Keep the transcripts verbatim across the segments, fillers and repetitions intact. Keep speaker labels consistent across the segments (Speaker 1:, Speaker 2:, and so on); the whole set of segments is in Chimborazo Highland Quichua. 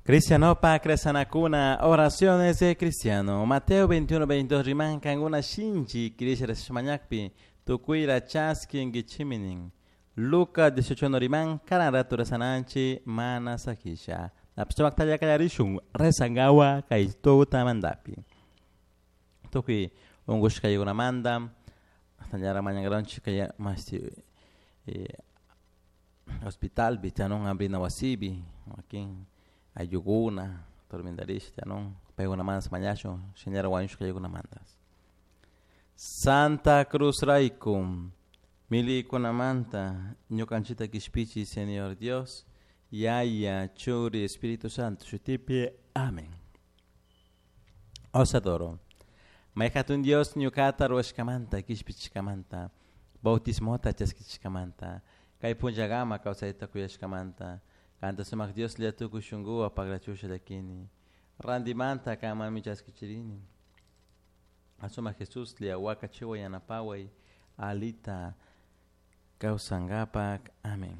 Speaker 1: Cristianopa kresanakuna oraciones de cristiano. Mateo veintiuno veintidós riman kankuna shinchi kirisha mañakpi tukuyra chaskinkichiminin. Lucas dieciocho uno riman karan ratu rezananchi mana sakisha. Napsumaktalla kallarishun rezangawa kay tutamantapi. Tukuy unkushkaykunamanta hasta mañankaranchik kay masti eh, hospitalpi tiyanun hambrina wasipi wakin ayllukuna tormentarisha tiyanun paykunamanta mañashun shinallara wañushka aylluykunamanta. Santa Cruz rayku milikunamanta ñukanchikta kishpichi Señor Dios, Yaya, Churi, Espíritu Santo, shutipi. Amén. Os adoro. May hatun Dios ñukata ruwashkamanta, kishpichishkamanta, bautismota chaskichishkamanta, kay punllakama kawsayta kuyashkamanta, kanta sumak Dios tukuy shunkuwan pagrachusha llakini, rantimanta kanmanmi chaskichirini. Sumak Jesus wakachiway yanapaway alita kawsankapak. Amén.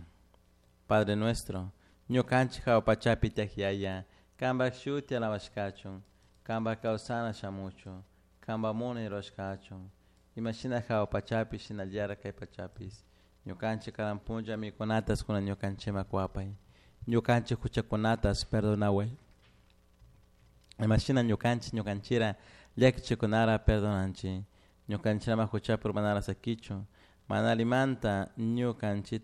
Speaker 1: Padre nuestro, ñukanchik hawa pachapi tiyak Yaya, kanpak shuti alabashkachun, kanpak kawsana shamuchun, kanpak munay rurashkachun, imashina hawa pachapi shinallara kay pachapis. Ñukanchik karan punlla mikunatas kunan ñukanchikman kuwapay. Ñukanchik huchakunatas perdonaway. Imashina ñukanchik ñukanchira llakichikunara perdonanchik. Ñukanchik ama huchapi urmanara sakichun, mana alimanta ñukanchikta.